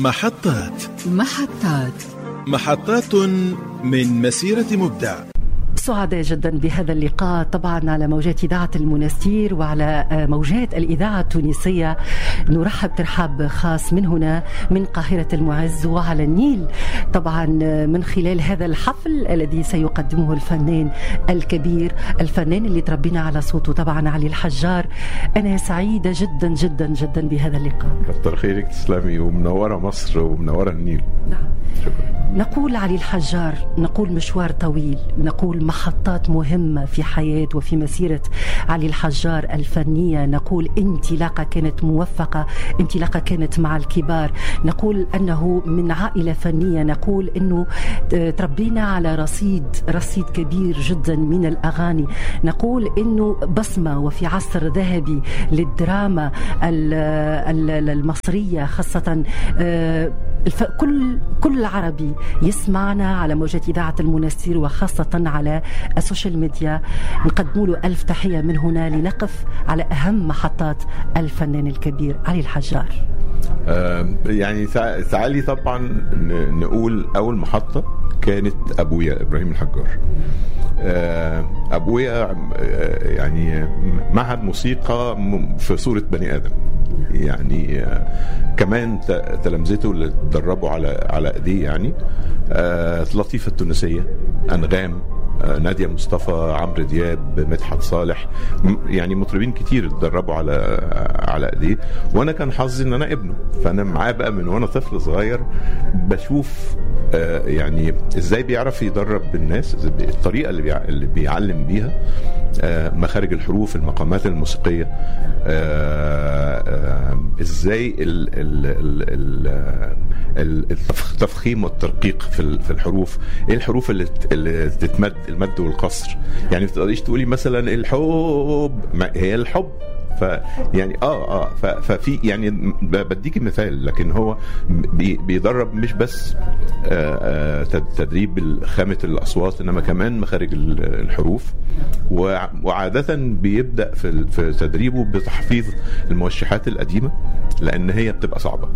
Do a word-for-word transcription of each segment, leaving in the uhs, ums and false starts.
محطات محطات محطات من مسيرة مبدع. سعداء جدا بهذا اللقاء طبعا على موجات إذاعة المنستير وعلى موجات الإذاعة التونسية. نرحب ترحاب خاص من هنا من قاهرة المعز وعلى النيل، طبعا من خلال هذا الحفل الذي سيقدمه الفنان الكبير، الفنان اللي تربينا على صوته طبعا علي الحجار. أنا سعيدة جدا جدا جدا بهذا اللقاء. كتر خيرك، تسلمي، ومنورة مصر ومنورة النيل. نعم، شكرا. نقول علي الحجار، نقول مشوار طويل، نقول محطات مهمة في حياة وفي مسيرة علي الحجار الفنية، نقول انطلاقة كانت موفقة، انطلاقة كانت مع الكبار، نقول أنه من عائلة فنية، نقول أنه تربينا على رصيد رصيد كبير جدا من الأغاني، نقول أنه بصمة وفي عصر ذهبي للدراما المصرية خاصة. كل كل عربي يسمعنا على موجات إذاعة المنستير وخاصة على السوشيال ميديا نقدم له ألف تحية من هنا لنقف على أهم محطات الفنان الكبير علي الحجار. آه يعني تعالي طبعا نقول أول محطة كانت أبويا إبراهيم الحجار. آه أبويا يعني معهد موسيقى في صورة بني آدم، يعني كمان تلامذته اللي اتدربوا على على ايديه، يعني لطيفة التونسية، أنغام، نادية مصطفى، عمرو دياب، مدحت صالح، يعني مطربين كتير اتدربوا على على ايديه. وانا كان حظي ان انا ابنه، فانا معاه بقى من وانا طفل صغير بشوف يعني ازاي بيعرف يدرب الناس، الطريقة اللي اللي بيعلم بيها، مخارج الحروف، المقامات الموسيقية، ازاي التفخيم والترقيق في الحروف، ايه الحروف اللي اللي تتمد، المد والقصر. يعني ما تقدريش تقولي مثلا الحب، ما هي الحب، ف يعني اه اه ففي يعني بديك مثال، لكن هو بي بيدرب مش بس آه تدريب خامة الأصوات، إنما كمان مخارج الحروف. وعادة بيبدأ في في تدريبه بتحفيظ الموشحات القديمة لأن هي بتبقى صعبة،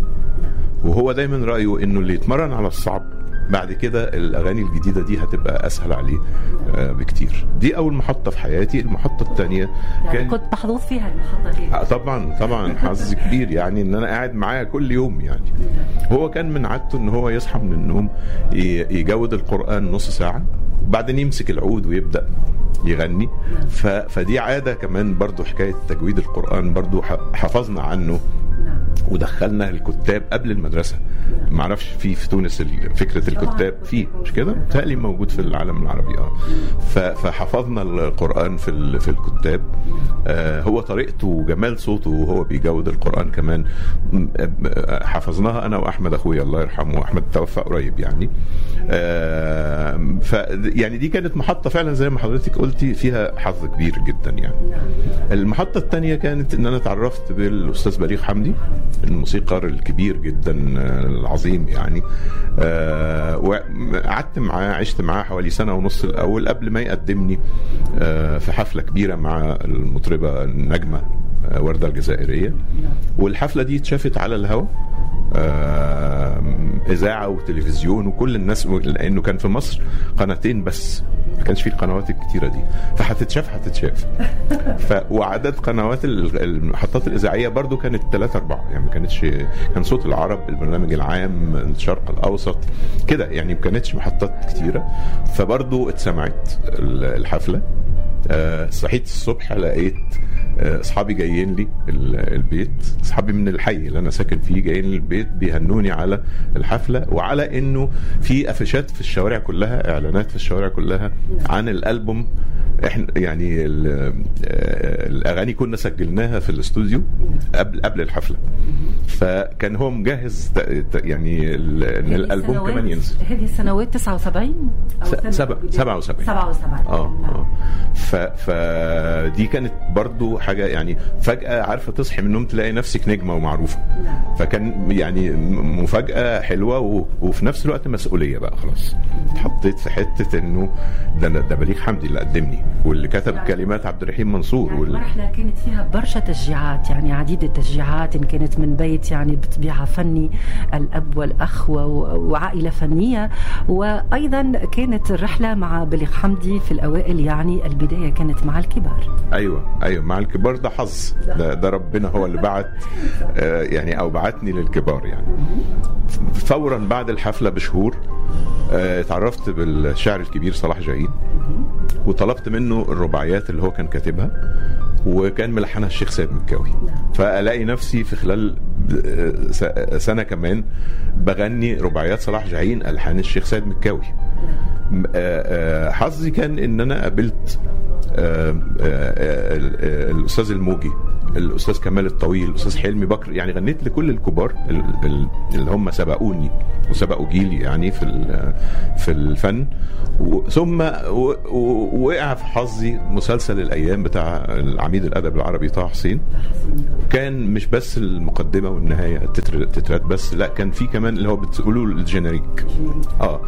وهو دايما رأيه إنه اللي يتمرن على الصعب بعد كده الأغاني الجديدة دي هتبقى أسهل عليه بكتير. دي أول محطة في حياتي. المحطة الثانية يعني كان... كنت محظوظ فيها المحطة دي. طبعا طبعا حظ كبير، يعني إن أنا قاعد معاه كل يوم. يعني هو كان من عادته إن هو يصحى من النوم يجود القرآن نص ساعة وبعدين يمسك العود ويبدأ يغني. ف... فدي عادة كمان برضو، حكاية تجويد القرآن برضو حفظنا عنه ودخلنا الكتاب قبل المدرسة. ما اعرفش في في تونس فكرة الكتاب في مش كده، بتهيألي موجود في العالم العربي. اه فحفظنا القرآن في في الكتاب. آه هو طريقته وجمال صوته وهو بيجود القرآن كمان حفظناها انا واحمد اخويا الله يرحمه، احمد توفى قريب يعني. آه ف يعني دي كانت محطة فعلا زي ما حضرتك قلتي فيها حظ كبير جدا يعني. المحطة الثانية كانت ان انا اتعرفت بالاستاذ بليغ حمدي، الموسيقار الكبير جدا العظيم يعني. آه وقعدت معاه، عشت معاه حوالي سنة ونص الأول قبل ما يقدمني آه في حفلة كبيرة مع المطربة النجمة آه وردة الجزائرية. والحفلة دي اتشافت على الهواء، آه إذاعة وتلفزيون وكل الناس، لأنه كان في مصر قناتين بس، ما كانش فيه القنوات الكتيرة دي، فهتتشاف هتتشاف. ف وعدد قنوات المحطات الإذاعية برضو كانت ثلاثة أربعة، يعني ما كانتش، كان صوت العرب، البرنامج العام، الشرق الأوسط كده، يعني ما كانتش محطات كتيرة. فبرضو اتسمعت الحفلة. أه صحيت الصبح لقيت اصحابي جايين لي البيت، اصحابي من الحي اللي انا ساكن فيه جايين لي البيت بيهنوني على الحفلة، وعلى انه في افشات في الشوارع كلها، اعلانات في الشوارع كلها عن الالبوم. احنا يعني الاغاني كنا سجلناها في الاستوديو قبل قبل الحفلة، فكان هو مجهز يعني ان الالبوم كمان ينزل. هذه السنوات تسعة وسبعين أو سبعة وسبعين. سبعة وسبعين. اه اه فدي كانت برضو حاجة يعني فجاة عارفه تصحي من النوم تلاقي نفسك نجمه ومعروفة. فكان يعني مفاجاة حلوة، وفي نفس الوقت مسؤولية بقى. خلاص اتحطيت في حتة انه ده ده بليغ حمدي اللي قدمني واللي كتب كلمات عبد الرحيم منصور. يعني المرحلة كانت فيها برشا تشجيعات، يعني عديد التشجيعات، ان كانت من بيت يعني بطبيعة فني، الاب والاخ وعائلة فنية، وايضا كانت الرحلة مع بليغ حمدي في الاوائل، يعني البداية كانت مع الكبار. ايوه ايوه مع الكبار، ده حظ، ده, ده ربنا هو اللي بعت آه يعني او بعتني للكبار يعني. فورا بعد الحفلة بشهور آه اتعرفت بالشاعر الكبير صلاح جاهين، وطلبت منه الرباعيات اللي هو كان كاتبها وكان ملحنها الشيخ سيد مكاوي. فالاقي نفسي في خلال سنة كمان بغني رباعيات صلاح جاهين الحان الشيخ سيد مكاوي. حظي كان ان انا قابلت الاستاذ الموجي، الاستاذ كمال الطويل، الاستاذ حلمي بكر، يعني غنيت لكل الكبار اللي هم سبقوني وسبقوا جيلي يعني في في الفن. ثم وقع في حظي مسلسل الايام بتاع العميد الادب العربي طه حسين. كان مش بس المقدمة والنهاية التترات بس، لا كان في كمان اللي هو بتقولوا ال générique. اه